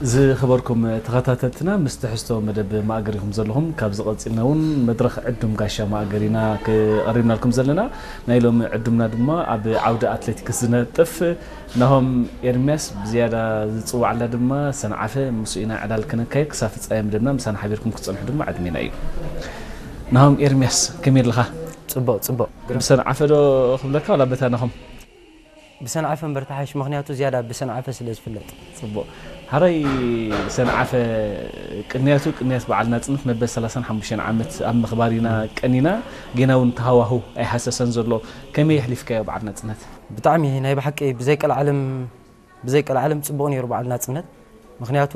ዝኸበርኩም ተኸታተልትና፣ ምስ ትሕዝቶ መደብ ማእገር ኢኹም ዘለኹም። ካብዚ ቀጺልና እውን መድረኽ ዕዱም ጋሻ ማእገር ኢና ክቐሪብናልኩም ዘለና። ናይ ሎሚ ዕዱምና ድማ ኣብ ዓውዲ ኣትሌቲክስ ዝነጥፍ ናሆም ኤርምያስ፣ ብዝያዳ ዝጽዋዕላ ድማ ሰንዓፈ፣ ምስኡ ኢና ዕላል ክነካይድ። ክሳብ ፍጻሜ መደብና ምሳና ሓቢርኩም ክትጸንሑ ድማ ዕድሜና እዩ። ናሆም ኤርምያስ፣ ከመይ ኣለኻ? ጽቡቕ፣ ጽቡቕ። ብሰንዓፈ ዶ ክብለካ ዋላ በታ ናሆም? ብሰንዓፈ እምበር ተሓይሽ፣ ምኽንያቱ ዝያዳ ብሰንዓፈ ስለ ዝፍለጥ። ጽቡቕ። ሓራይ ሰንዓፈ፣ ቅንያቱ ቅንያት በዓል ናጽነት መበል ሰላሳን ሓሙሽተን ዓመት ኣብ ምኽባር ኢና ቀኒና። ጌና እውን እቲ ሃዋህው ኣይሃሰሰን ዘሎ። ከመይ የሕሊፍካዮ በዓል ናጽነት? ብጣዕሚ ናይ ብሓቂ ብዘይ ቀልዓለም፣ ብዘይ ቀልዓለም ጽቡቕ ነይሩ በዓል ናጽነት። ምኽንያቱ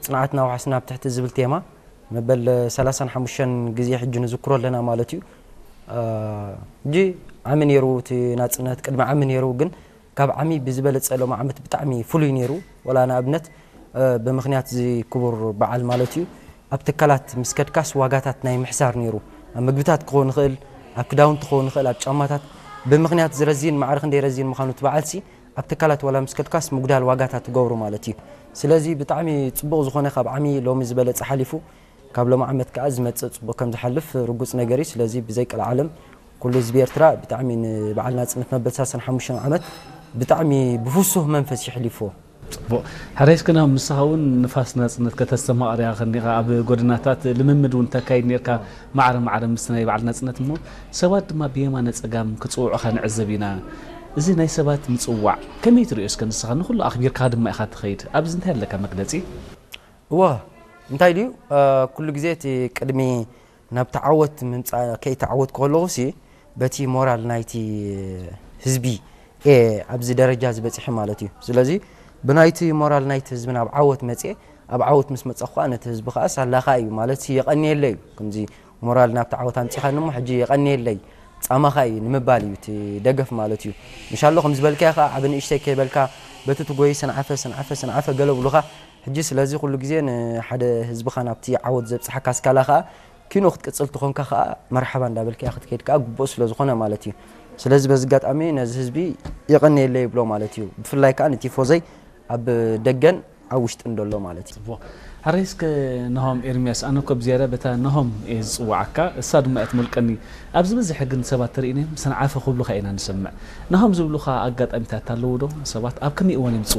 ጽንዓትና ወሓስና ኣብ ትሕቲ ዝብል ቴማ መበል ሰላሳን ሓሙሽተን ግዜ ሕጂ ንዝክሮ ኣለና ማለት እዩ። እ፣ ሕጂ ዓሚ ነይሩ እቲ ናጽነት፣ ቅድሚ ዓሚ ነይሩ፣ ግን ካብ ዓሚ ብዝበለጸ ሎም ዓመት ብጣዕሚ ፍሉይ ነይሩ። ወላ ንኣብነት፣ እ፣ ብምኽንያት እዚ ክቡር በዓል ማለት እዩ፣ ኣብ ትካላት ምስ ከድካስ ዋጋታት ናይ ምሕሳር ነይሩ። ኣብ ምግብታት ክኸውን ይኽእል፣ ኣብ ክዳውንቲ ክኸውን ይኽእል፣ ኣብ ጫማታት ብምኽንያት ዝረዚን ማዕረ ክንደይ ረዚን ምዃኑ እቲ በዓልሲ ኣብ ትካላት ዋላ ምስ ከድካስ ምጉዳል ዋጋታት ትገብሩ ማለት እዩ። ስለዚ ብጣዕሚ ጽቡቕ ዝኾነ ካብ ዓሚ ሎሚ ዝበለጸ ሓሊፉ፣ ካብ ሎም ዓመት ከኣ ዝመጽእ ጽቡቕ ከም ዝሓልፍ ርጉጽ ነገር እዩ። ስለዚ ብዘይ ቀልዓለም ኩሉ ህዝቢ ኤርትራ ብጣዕሚ ንበዓል ናጽነት መበል ሰላሳን ሓሙሽተን ዓመት ብጣዕሚ ብፍሱህ መንፈስ የሕሊፍዎ። ጽቡቕ። ሕራይ እስከ ናሆም፣ ንስኻ እውን ንፋስ ናጽነት ከተስተማቕር ኢኻ ከኒኻ፣ ኣብ ጎደናታት ልምምድ እውን ተካይድ ነርካ፣ ማዕረ ማዕረ ምስቲ ናይ በዓል ናጽነት። እሞ ሰባት ድማ ብየማነ ጸጋም ክጽውዑኻ ንዕዘብ ኢና። እዚ ናይ ሰባት ምጽዋዕ ከመይ ትርእዮ እስከ ንስኻ? ንኹሉ ኣኽቢርካ ድማ ኢኻ ትኸይድ። ኣብዚ እንታይ ኣለካ መግለጺ? እወ፣ እንታይ ድዩ፣ እ፣ ኩሉ ግዜ እቲ ቅድሚ ናብቲ ዓወት ምምጻእ ከይተዓወትኩ ከለኹሲ፣ በቲ ሞራል ናይቲ ህዝቢ እየ ኣብዚ ደረጃ ዝበጺሐ ማለት እዩ። ስለዚ ብናይቲ ሞራል ናይቲ ህዝቢ ናብ ዓወት መጽየ፣ ኣብ ዓወት ምስ መጻኹ ከኣ ነቲ ህዝቢ ከኣ ሳላኻ እዩ ማለት የቐንየለይ እዩ። ከምዚ ሞራል ናብቲ ዓወት ኣምጺኻኒ እሞ ሕጂ የቐንየለይ ጻማኻ እዩ ንምባል እዩ እቲ ደገፍ ማለት እዩ። እንሻሎ ከም ዝበልካዮ ከኣ ዓቢ ንእሽተይ ከይበልካ በቲ ትጎይ ሰንዓፈ፣ ሰንዓፈ፣ ሰንዓፈ ገለ ብሉኻ። ሕጂ ስለዚ ኩሉ ግዜ ንሓደ ህዝብኻ ናብቲ ዓወት ዘብጽሓካ ኣስካላ ከኣ ኪኖ ክትቅጽል ትኾንካ ከኣ መርሓባ እንዳበልካ ክትከይድ ከኣ ግቡእ ስለ ዝኾነ ማለት እዩ። ስለዚ በዚ ኣጋጣሚ ነዚ ህዝቢ የቐንየለይ ይብሎ ማለት እዩ። ብፍላይ ከኣ ንቲፎዘይ ኣብ ደገን ኣብ ውሽጥን ደሎ ማለት እዩ። ጽቡቕ። ሕራይ እስከ ናሆም ኤርምያስ፣ ኣነ እኮ ብዝያዳ በታ ናሆም እየ ዝጽውዓካ፣ እሳ ድማ እያ ትመልቀኒ። ኣብ ዝበዝሐ ግን ሰባት ተርእይናዮም ሰንዓፈ ክብሉኻ ኢና ንሰምዕ። ናሆም ዝብሉኻ ኣጋጣሚታት ኣለዉ ዶ? ሰባት ኣብ ከመይ እዋን እዮም ዝጽውዑኻ?